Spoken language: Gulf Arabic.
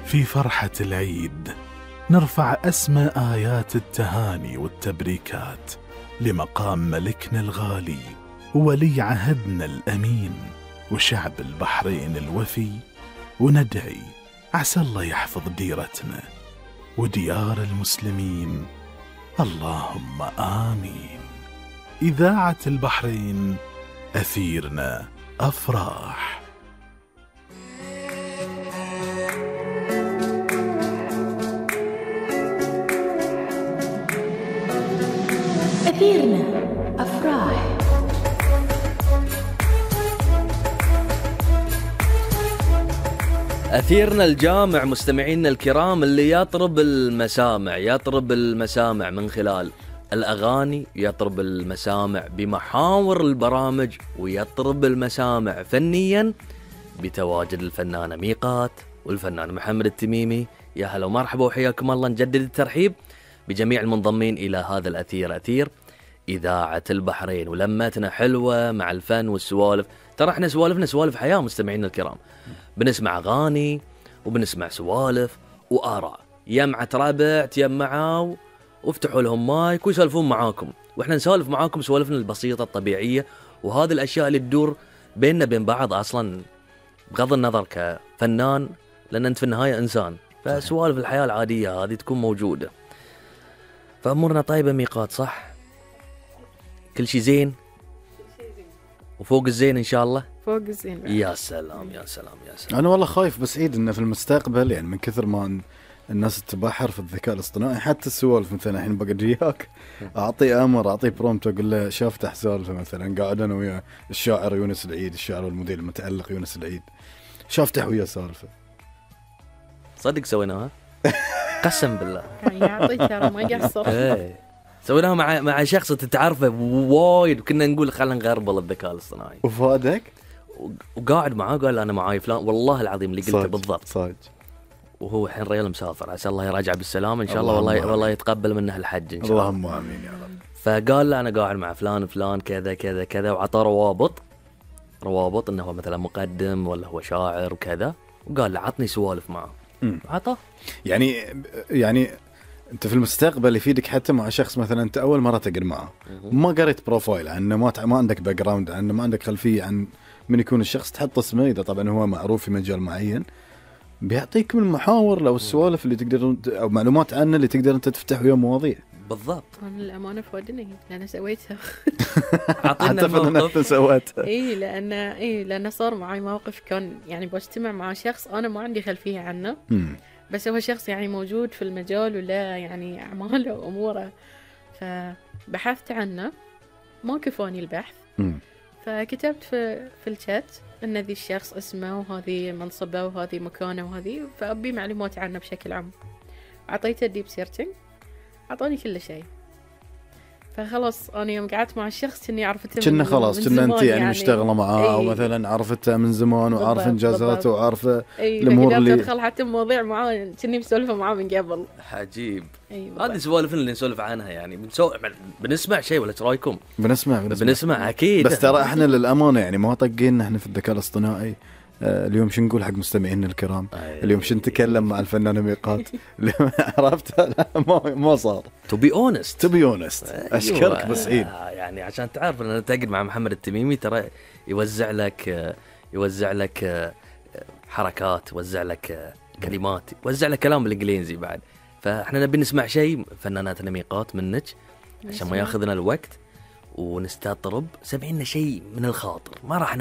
في فرحة العيد نرفع أسمى آيات التهاني والتبريكات لمقام ملكنا الغالي وولي عهدنا الأمين وشعب البحرين الوفي، وندعي عسى الله يحفظ ديرتنا وديار المسلمين، اللهم آمين. إذاعة البحرين، أثيرنا أفراح. أثيرنا أفراح. أثيرنا الجامع مستمعينا الكرام اللي يطرب المسامع من خلال الأغاني، يطرب المسامع بمحاور البرامج، ويطرب المسامع فنيا بتواجد الفنانة ميقات والفنان محمد التميمي. يا هلا ومرحبا وحياكم الله، نجدد الترحيب بجميع المنضمين إلى هذا الأثير، أثير إذاعة البحرين، ولمتنا حلوة مع الفن والسوالف. ترى احنا سوالفنا سوالف حياة مستمعينا الكرام، بنسمع أغاني وبنسمع سوالف وآراء، يمعة ربع تيمعوا وافتحوا لهم مايك ويسولفون معاكم، واحنا نسولف معاكم سوالفنا البسيطة الطبيعية، وهذه الأشياء اللي تدور بيننا بين بعض أصلا بغض النظر كفنان، لأن أنت في النهاية إنسان، فسوالف الحياة العادية هذه تكون موجودة. فأمورنا طيبة ميقات، صح؟ كل شيء زين وفوق الزين إن شاء الله. فوق الزين. يا سلام يا سلام يا سلام. أنا والله خايف بس عيد إنه في المستقبل يعني من كثر ما الناس تتبحر في الذكاء الاصطناعي، حتى السوالف مثلا الحين بقى جياك أعطي أمر، أعطي برومت أقول له شافتح سالفة مثلا، قاعد أنا ويا الشاعر يونس العيد، الشاعر والمدير المتألق يونس العيد، شافتح ويا سالفة. صدق سويناها قسم بالله يعطيك ترى ما قصر. سويناها مع شخص تتعرفه وايد، وكنا نقول خلينا نغربل الذكاء الاصطناعي، وفادك وقاعد معاه قال انا معاي فلان، والله العظيم اللي قلته بالضبط صاج. وهو الحين ريال مسافر، عسى الله يراجع بالسلامه ان شاء الله، والله يتقبل منه الحج ان شاء الله، اللهم امين يا رب. فقال له انا قاعد مع فلان كذا كذا كذا، وعطى روابط انه هو مثلا مقدم ولا هو شاعر وكذا، وقال له عطني سوالف معه، عطى. يعني انت في المستقبل يفيدك حتى مع شخص مثلا انت اول مره تقعد معه، ما قريت بروفايل عنه، ما عندك باك جراوند عنه، ما عندك خلفيه عن من يكون الشخص، تحط اسمه اذا طبعا هو معروف في مجال معين، بيعطيك من المحاور لو السوالف اللي تقدر او معلومات عنه اللي تقدر انت تفتح وياه مواضيع. بالضبط. انا الامانه فودني لان سويتها. اعطينا الموقف. سويتها. لان صار معي موقف، كان يعني بجتمع مع شخص انا ما عندي خلفيه عنه، بس هو شخص يعني موجود في المجال ولا يعني اعماله واموره، فبحثت عنه ما كفاني البحث، فكتبت في الشات ان ذي الشخص اسمه وهذه منصبه وهذه مكانه وهذه، فأبي معلومات عنه بشكل عام. أعطيته ديب سيرتنج، أعطاني كل شيء، فخلص أنا يوم قعدت مع الشخص إني عرفته كنا خلاص كنا أنت يعني مشتغلة معاه أو مثلا عرفته من زمان وعارف إنجازاته وعارفة الأمور اللي تدخل حتى مواضيع معاه كني مسولفة معاه من قبل. عجيب. هذه سوالف اللي نسولف عنها، يعني بنسمع شيء ولا رايكم؟ بنسمع أكيد. بس ترى إحنا للأمانة يعني ما طقينا إحنا في الذكاء الاصطناعي. اليوم شو نقول حق مستمعينا الكرام؟ اليوم شو نتكلم مع الفنانة ميقات؟ عرفت ما صار. To be honest. أشكرك بس عيد. يعني عشان تعرف أن تقعد مع محمد التميمي ترى يوزع لك حركات، يوزع لك كلمات، يوزع لك كلام بالإنجليزي بعد. فإحنا نبي نسمع شيء فناناتنا ميقات منك عشان ما ياخذنا الوقت ونستطرب. سمعينا شيء من الخاطر، ما راح